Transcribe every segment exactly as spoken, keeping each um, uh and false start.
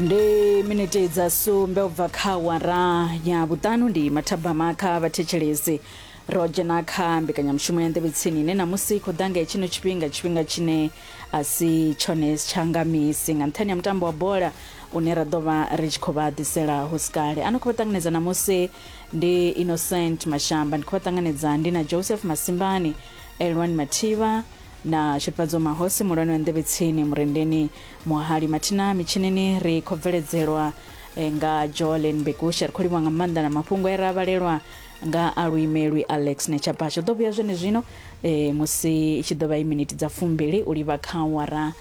Ndi miniti dza sumbe ubva kha awara ya vhuṱanu, ndi mathabama kha vhathetshelesi. Ro dzhena kha mbekanyamushumo ya Nḓevhe Tsini ine namusi khou ḓa nga hetshino tshifhinga, tshifhinga tshine a si tshone tsha nga misi nga nṱhani ha mutambo wa bola une ra ḓo vha ri tshi khou vha ḓisela hu si kale. Ano khou vha ṱanganedza namusi ndi Innocent Mashamba, ndi khou vha ṱanganedza ndi na Joseph Masimbani, Elwan Mathivha na Tshifhadzo Mahosi, muhulwane wa Nḓevhe Tsini Murendeni Muhali Mathina. Mitshinini ri khou bveledzelwa nga Jolen Bekusha. Ri khou livhuwa nga maanḓa na mafhungo e ra vhalelwa nga aluimelwi Alex Nechapasha. Ḓo vhuya zwene zwino e, musi i tshi ḓo vha i miniti dza fumbili u livha kha awara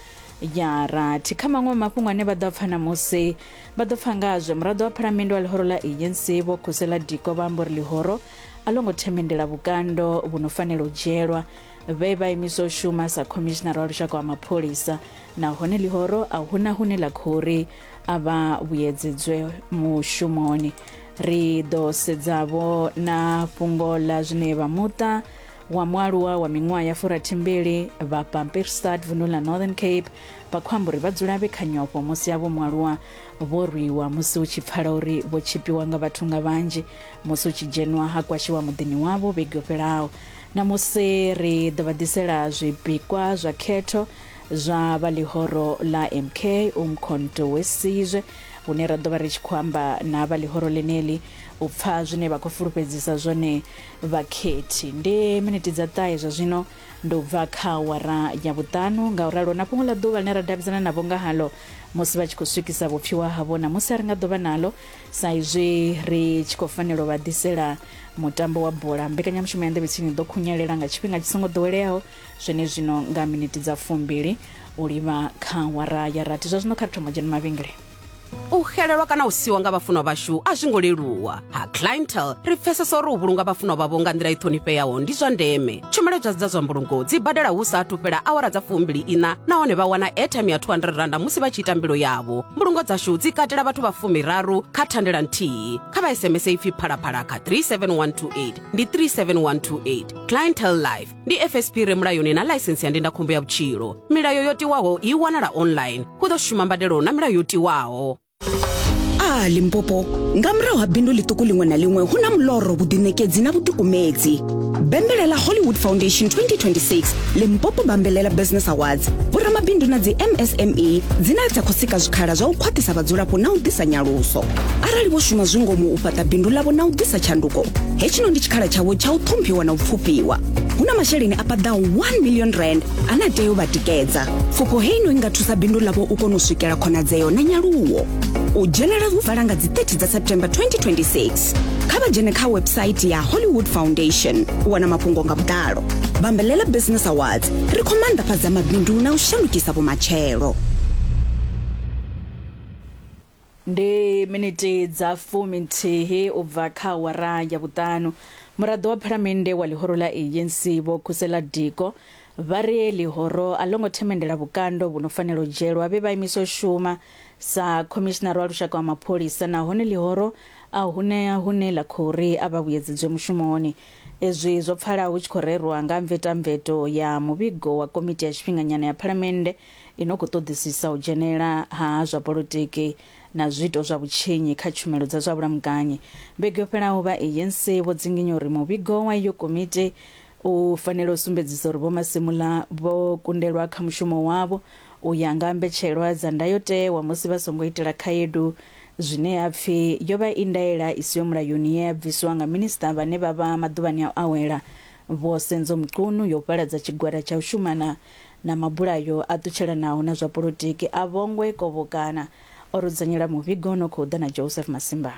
ya rathi. Kha maṅwe mafhungo ane vha ḓo pfa namusi, vha ḓo pfa ngazwo muraḓo wa phalamennde wa ḽihoro ḽa A N C Vho Khusela Diko vha amba uri ḽihoro a ḽo ngo themendela vhukando vhu no fanela u dzhielwa vhe vha imiswa u shuma sa khomishinara wa lushaka wa mapholisa, nahone ḽihoro a huna hune ḽa khou ri a vha vhuyedzedzwe mushumoni. Ri ḓo sedzavho na fhungo ḽa zwine vha muṱa wa mualuwa wa miṅwaha ya furathimbili vha Pampierstad vundu ḽa Northern Cape vha khou amba uri vha dzula vhe kha nyofho musi avho mualuwa vho rwiwa, musi hu tshi pfala uri vho tshipiwa nga vhathu nga vhanzhi musi hu tshi dzhenwa ha kwashiwa muḓini wavho vhege yo fhelaho. Na musi ri ḓo vha ḓisela zwipikwa zwa khetho zwa vha ḽihoro ḽa M K Umkhonto we Sizwe, hune ra ḓo vha ri tshi khou amba na vha ḽihoro ḽeneḽi u pfa zwine vha khou fulufhedzisa zwone vhakhethi. Ndi miniti dza ṱahe zwa zwino ndi u bva kha awara ya vhuṱanu, ngauralo na fhungo ḽa ḓuvha ḽine ra davhidzana navho nga halo musi vha tshi khou swikisa vhupfiwa havho na musi a ri nga ḓo vha nalo sa izwi ri tshi khou fanela u vha ḓisela mutambo wa bola. Mbekanyamushumo ya Nḓevhe Tsini ḓo khunyelela nga tshifhinga tshi songo ḓoweleaho zwenezwino nga miniti dza fumbili u livha kha awara ya rathi. Zwa zwino kha ri thoma dzhena mavhengele. U xelelwa kana u siwa nga vhafunwa vhashu a zwi ngo leluwa. Ha Clientele ri pfesesa uri u vhulunga vhafunwa vhavho nga nḓila i ṱhonifheaho ndi zwa ndeme. Tshumelo dza dza zwa mbulungo dzi badela hu sa athu fhela awara dza fumbili ina, nahone vha wana airtime ya two hundred randa musi vha tshi ita mbilo yavho. Mbulungo dzashu dzi katela vhathu vha fumiraru kha thandela nthihi. Kha vha S M S ipfi phalaphala kha three seven one two eight, ndi three seven one two eight. Clientele Life ndi F S P re mulayoni na ḽaisensi ya ndindakhombo ya vhutshilo. Milayo yo tiwaho i wanala online. Hu ḓo shuma mbadelo na milayo yo tiwaho. A Limpopo, nga murahu ha bindu ḽiṱuku ḽiṅwe na ḽiṅwe hu na muloro, vhuḓiṋekedzi na vhuḓikumedzi. Bambelela Hollywood Foundation twenty twenty-six Limpopo Bambelela Business Awards, vhoramabindu na dzi M S M E dzine dza khou sika zwikhala zwa u khwaṱhisa vhadzulapo na u ḓisa nyaluso. Arali vho shuma zwi ngomu u fhaṱa bindu ḽavho na u ḓisa tshanduko, hetshino ndi tshikhala tshavho tsha u ṱhomphiwa na u pfufhiwa. Hu na masheleni a paḓaho one million rand ane a tea u vha tikedza. Pfufho heino i nga thusa bindu ḽavho u kona u swikela khonadzeo na nyaluwo. U dzhenela hu vala nga dzi thirty dza September twenty twenty-six. Kha vha dzhene kha website ya Hollywood Foundation u wana mafhungo nga vhuḓalo. Bambelela Business Awards, ri khou maanḓafhadza mabindu na u shandukisa vhumatshelo. Ndi miniti dza fumi nthihi u bva kha awara ya vhuṱanu. Muraḓo wa phalamennde wa ḽihoro ḽa A N C Vho Khusela Diko vha ri ḽihoro a ḽo ngo themendela vhukando vhu no fanela u dzhielwa vhe vha imiswa u shuma sa khomishinara wa lushaka wa mapholisa, nahone ḽihoro a hune hune ḽa khou ri a vha vhuyedzedzwe mushumoni. Ezwi zwo pfala hu tshi khou rerwa nga mvetamveto ya muvhigo wa komiti ya tshifhinganyana ya phalamennde ino khou ṱoḓisisa u dzhenela ha zwa polotiki na zwiito zwa vhutshinyi kha tshumelo dza zwa vhulamukanyi. Vhege yo fhelaho vha A N C vho dzinginya uri muvhigo wa iyo komiti u fanela u sumbedzisa uri Vho Masemola vho kundelwa kha mushumo wavho u ya nga mbetshelwa dza ndayotewa musi vha songo itela khaedu zwine ya pfi yo vha i ndaela i siho mulayoni ye ya bviswa nga minisiṱa vhane vha vha maḓuvhani a u awela Vho Senzo Mchunu yo fhaladza tshigwada tsha u shumana na mabulayo a ṱutshelanaho na zwa polotiki a Vhongwe Kovhokana. O rudzanyela muvhigo no khou ḓa na Joseph Masimba.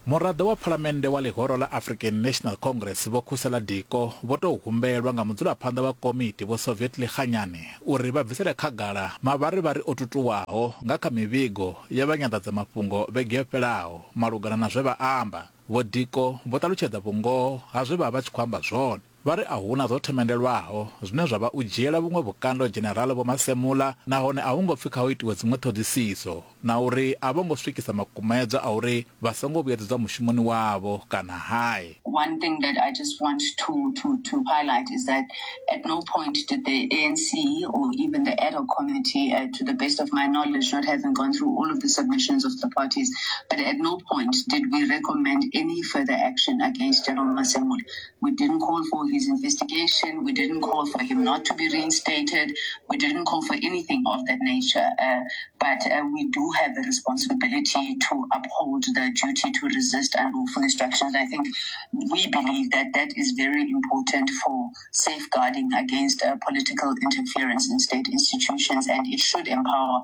Muraḓo wa phalamennde wa ḽihoro ḽa African National Congress Vho Khusela Diko vho tou humbelwa nga mudzulaphanḓa wa komiti Vho Soviet Lekganyane uri vha bvisele khagala mavharivhari o tutuwaho nga kha mivhigo ya vha nyanḓadzamafhungo vhege yo fhelaho malugana na zwe vha amba. Vho Diko vho ṱalutshedza vhungoho ha zwe vha vha tshi khou amba zwone. Vha ri a huna zwo themendelwaho zwine zwa vha u dzhiela vhuṅwe vhukando Dzhenerala Vho Masemola, nahone a hu ngo pfi kha hu itiwe dziṅwe ṱhoḓisiso, na uri a vho ngo swikisa makumedzwa a uri vha songo vhuyedzedzwa mushumoni wavho kana hai. One thing that I just want to, to, to highlight is that at no point did the A N C or even the ad hoc committee, uh, to the best of my knowledge, not having gone through all of the submissions of the parties, but at no point did we recommend any further action against General Masemola. We didn't call for his investigation. We didn't call for him not to be reinstated. We didn't call for anything of that nature. Uh, but uh, we do have a responsibility to uphold the duty to resist unlawful instructions. I think we believe that that is very important for safeguarding against uh, political interference in state institutions, and it should empower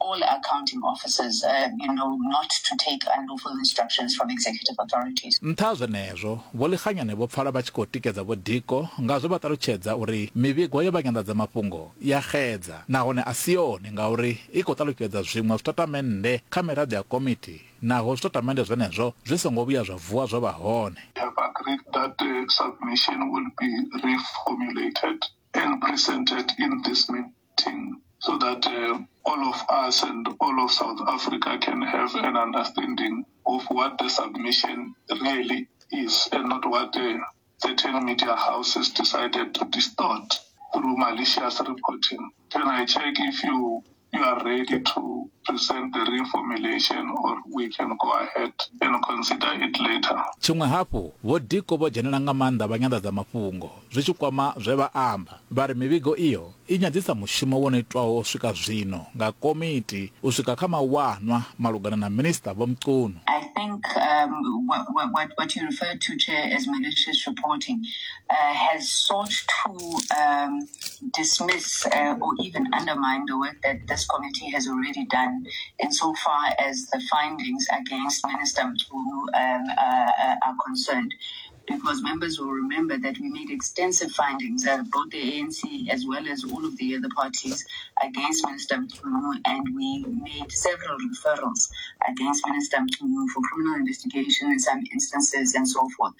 all accounting officers, uh, you know, not to take unlawful instructions from executive authorities. Nṱha zwenezwo, Vho Lekganyane vho pfala vha tshi khou tikedza Vho Diko nga zwe vha ṱalutshedza uri mivhigo ya vha nyanḓadzamafhungo ya xedza nahone a si yone ngauri i khou ṱalutshedza zwiṅwe zwitatamennde kha miraḓo ya komiti, naho zwitatamennde zwenezwo zwi songo vhuya zwa vuwa zwo vha hone. We have agreed that the submission will be reformulated and presented in this meeting so that uh, all of us and all of South Africa can have an understanding of what the submission really is and not what uh, certain media houses decided to distort through malicious reporting. Can I check if you, you are ready to present the reformulation, or we can go ahead and consider it later? Tshiṅwe hafhu, Vho Diko vho dzhenela nga maanḓa vha nyanḓadzamafhungo zwi tshi kwama zwe vha amba. Vha ri mivhigo iyo i nyadzisa mushumo wo no itwaho u swika zwino nga komiti u swika kha mawanwa malugana na Minista Vho Mchunu. I think um, what, what, what you referred to, Chair, as malicious reporting uh, has sought to um, dismiss uh, or even undermine the work that this committee has already done insofar as the findings against Minister Mchunu um, uh, are concerned. Because members will remember that we made extensive findings, uh, both the A N C as well as all of the other parties, against Minister Mchunu, and we made several referrals against Minister Mchunu for criminal investigation in some instances and so forth.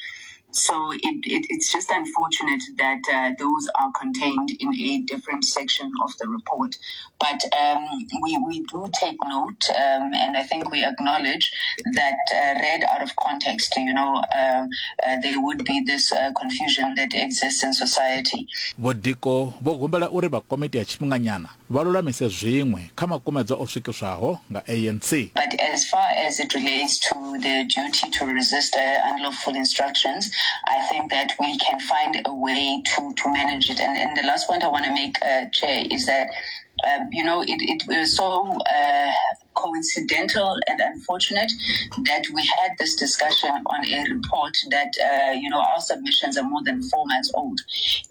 So it, it, it's just unfortunate that uh, those are contained in a different section of the report. But um, we, we do take note, um, and I think we acknowledge that uh, read out of context, you know, uh, uh, there would be this uh, confusion that exists in society. Vho Diko vho humbela uri vha komiti ya tshifhinganyana vha lulamise zwiṅwe kha makumedzwa o swikiswaho nga A N C. But as far as it relates to the duty to resist uh, unlawful instructions, I think that we can find a way to, to manage it. And, and the last point I want to make, uh, Chair, is that, um, you know, it, it was so uh, coincidental and unfortunate that we had this discussion on a report that, uh, you know, our submissions are more than four months old.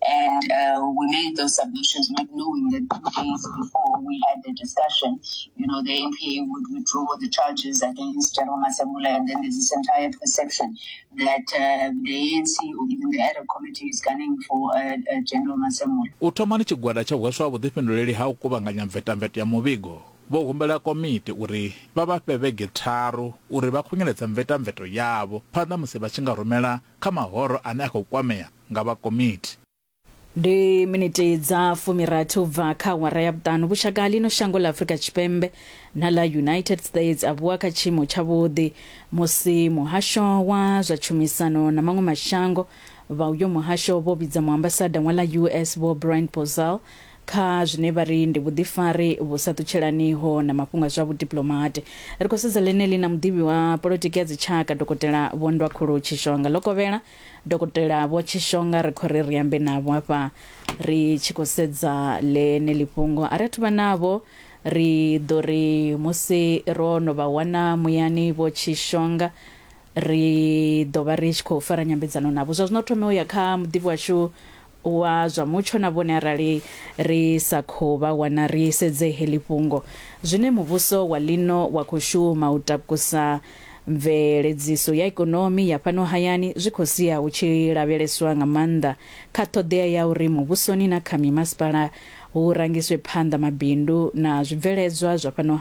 And uh, we made those submissions not knowing that two days before we had the discussion, you know, the N P A would withdraw the charges against General Masemola, and then there's this entire perception that uh, the A N C or even the ad hoc committee is gunning for uh, uh, General Masemola. U thomani tshigwada tsha hweswa vhuḓifhinduleli ha u kuvhanganya mvetamveto ya muvhigo vho humbela komiti uri vha vha fhe vhege tharu uri vha khunyeledze mvetamveto yavho phanḓa musi vha tshi nga rumela kha mahoro ane a khou kwamea nga vha komiti. Ndi miniti dza fumirathi u bva kha awara ya vhuṱanu. Vhushaka ḽino shango ḽa Afrika Tshipembe na ḽa United States a vhuwa kha tshiimo tshavhuḓi musi muhasho wa zwa tshumisano na maṅwe mashango vha uyo muhasho vho vhidza muambasada wa ḽa U S Vho Brian Pozal kha zwine vha ri ndi vhuḓifari vhu sa ṱutshelaniho na mafhungo a zwa vhudiplomate. Ri khou sedza ḽeneḽi na muḓivhi wa polotiki ya dzitshaka Dokotela Vho Ndwakhulu Tshishonga. Ḽo Dokotela Vho Tshishonga ri khou ri ri ambe navho hafha ri tshi khou sedza ḽeneḽi fhungo. A ri athu vha navho, ri ḓo ri musi ro no vha wana muyani Vho Tshishonga ri ḓo vha ri tshi khou fara nyambedzano navho. Zwa zwino thome u ya kha muḓivhi washu wa zwa mutsho na vhone arali ri sa khou vha wana ri sedze heḽi fhungo. Zwine muvhuso wa lino wa khou shuma u takusa mveledziso ya ikonomi ya fhano hayani zwi khou sia hu tshi lavheleswa nga maanḓa kha ṱhoḓea ya uri muvhusoni na kha mimasipala hu rangiswe phanḓa mabindu na zwibveledzwa zwa fhano